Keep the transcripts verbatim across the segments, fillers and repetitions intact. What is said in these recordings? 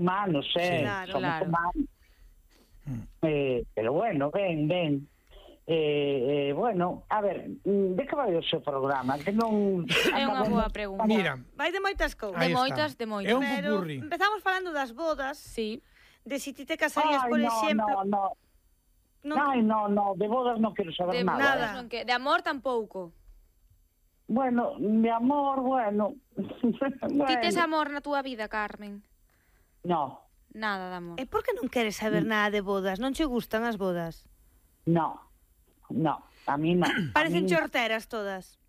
humanos, eh, Claro, somos claro. humanos. Eh, pero bueno, ben, ben. Eh, eh, bueno, a ver, de que vai o seu programa? Que non... É unha boa pregunta. Mira, Vai de moitas cousas. De Aí está. moitas, de moitas. É un Pero popurrí. empezamos falando das bodas, Sí. de si ti te casarías, Ai, por no, exemplo... no, no. non- Ai, no, no, de bodas non quero saber De nada. nada. bodas non que, de amor tampouco. Bueno, de amor, bueno. Ti tes bueno. amor na túa vida, Carmen? No, Nada de amor. E por que non queres saber Mm. nada de bodas? Non che gustan as bodas? no, no, a mí no. Parecen A mí- chorteras todas.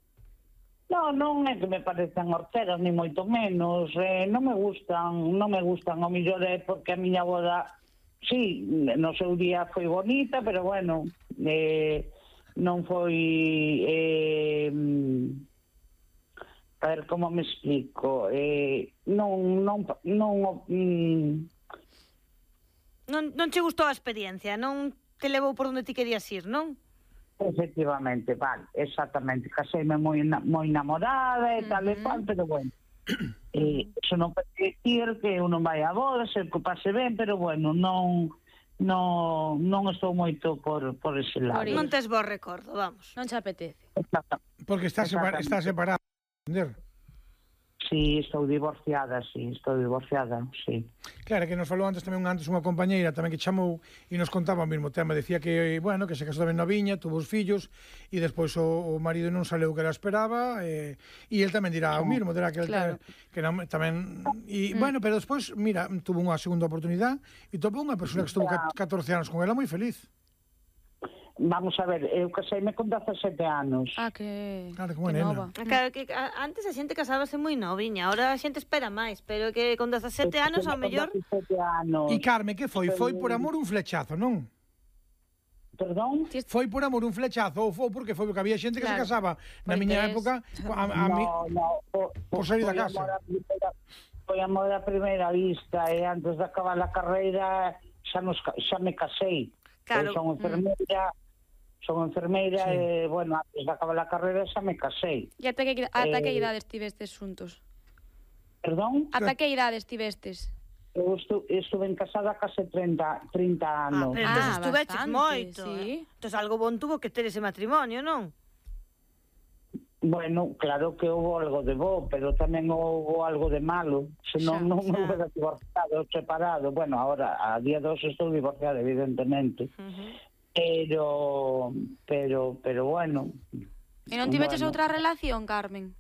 No, non é que me parecen horteras, ni moito menos. Eh, non me gustan, non me gustan. O millor é porque a miña boda, sí, no seu día foi bonita, pero bueno, eh, non foi... Eh, a ver, como me explico? Eh, non, non, non, mm, Non, non che gustou a experiencia, non te levou por onde ti querías ir, non? efectivamente, vale, exactamente. Caseime moi, na- moi namorada e tal e cual, pero bueno. Eh, eso non pode dicir que uno vai a boda, se que pase ben, pero bueno, non non, non estou moito por, por ese lado. Por ir. Non tes bo recordo, vamos. Non che apetece. Exactamente. Porque está, separa, Exactamente. está separado. Entender? Sí, estou divorciada, sí, estou divorciada, sí. Claro, que nos falou antes tamén antes unha compañeira tamén que chamou e nos contaba o mesmo tema, decía que, bueno, que se casou tamén na viña, tuvo os fillos e despois o, o marido non saleu que ela esperaba e, e el tamén dirá o mesmo, dirá que el Claro. que non, tamén e, bueno, pero despois, mira, tuvo unha segunda oportunidade e topou unha persona que estuvo Ya. catorce anos con ela moi feliz. Vamos a ver, eu caseime con dezasete anos. Ah, que, Claro, como que nena. nova. Claro que a- antes a xente casábase moi noviña, ahora a xente espera máis, pero que con dezasete anos ao mellor... dezasete anos. E Carme, que foi? Foi por amor un flechazo, non? Perdón? Ti- Foi por amor un flechazo ou foi porque foi porque había xente que Claro. se casaba na Por miña interés. época a, a mi, no, no, por, por salir da foi casa. amor a primeira- Foi amor a primeira vista e antes de acabar a carreira xa, nos, ca- xa me casei. Claro. Eu son enfermeira, son enfermeira Sí. e, bueno, antes de acabar a carreira xa me casei. E ata que, ata que Eh, idade estivestes xuntos? Perdón? Ata que idade estivestes? Eu estu, estuve en casada case trinta, trinta Ah, anos. pero Ah, entón estuveches bastante, moito. sí. Eh? Entón algo bon tuvo que ter ese matrimonio, non? Bueno, claro que houve algo de bo, pero tamén houve algo de malo. Senón Xa, non xa. me hubiera divorciado, separado. Bueno, ahora, a día de hoxe estou divorciada, evidentemente. Uh-huh. Pero, pero, pero bueno. E non tiveches Bueno. outra relación, Carmen?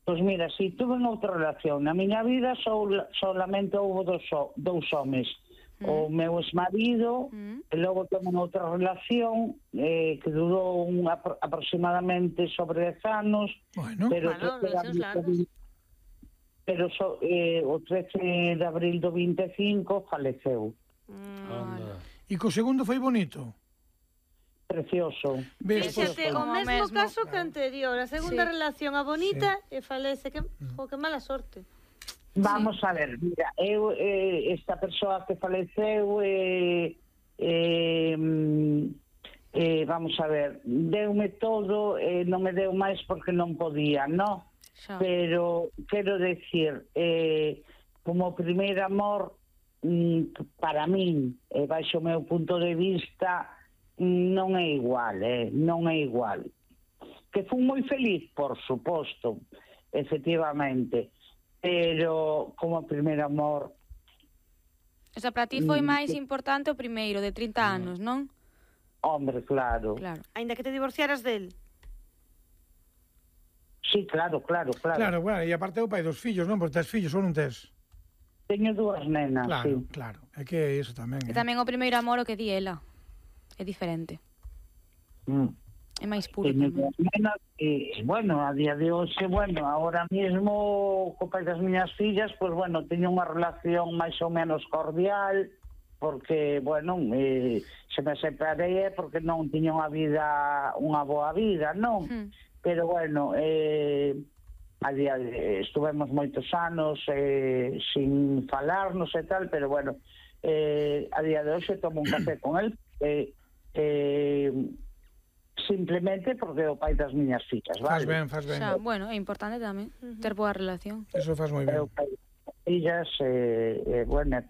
Pois mira, si tuve outra relación. Na miña vida só, solamente houve dos, ho- dous homes. O meu exmarido, Mm. e logo tamén outra relación eh, que durou un, apro- aproximadamente sobre dez anos, Bueno, pero, Bueno, trece de relacións abril largas. do- pero so, eh, o trece de abril do vinte e cinco faleceu. Mm. e co segundo foi bonito. Precioso. Ves, pois, Fíxate, o Como o mesmo mesmo. caso que anterior, a segunda Sí. relación a bonita e falece, que, jo, que mala sorte. Vamos a ver, mira, eu, eh, esta persoa que faleceu, eh, eh, mm, eh, vamos a ver, deume todo, eh, non me deu máis porque non podía, no? Xa. Pero, quero decir, eh, como primeiro amor, mm, para min, e baixo o meu punto de vista, non é igual, eh, non é igual. Que fui moi feliz, por suposto, efectivamente, pero como primeiro amor, O sea, para ti foi Mm, máis sí. importante o primeiro, de trinta anos, non? hombre, claro. Claro. Ainda que te divorciaras del. Sí, claro, claro, claro. claro, bueno, e aparte o pai dos fillos, non? Porque tes fillos ou non tes? Teño dúas nenas, Claro, sí. claro. É que iso tamén, E eh? tamén o primeiro amor o que di ela. É diferente. Mm. É máis puro Teño tamén. dúas nenas e, bueno, a día de hoxe, bueno, ahora mismo co pai das miñas fillas, pues bueno, teño unha relación máis ou menos cordial, porque, bueno, eh, se me separei porque non tiña unha vida, unha boa vida, non? Hmm. Pero, bueno, eh, a día de, estuvemos moitos anos eh, sin falarnos e tal, pero, bueno, eh, a día de hoxe tomo un café con él, eh, eh, simplemente porque é o pai das miñas fillas, Faz vale? ben, faz ben. Xa, bueno, é importante tamén ter boa relación. Eso faz moi É ben. o pai das fillas, eh, eh, bueno,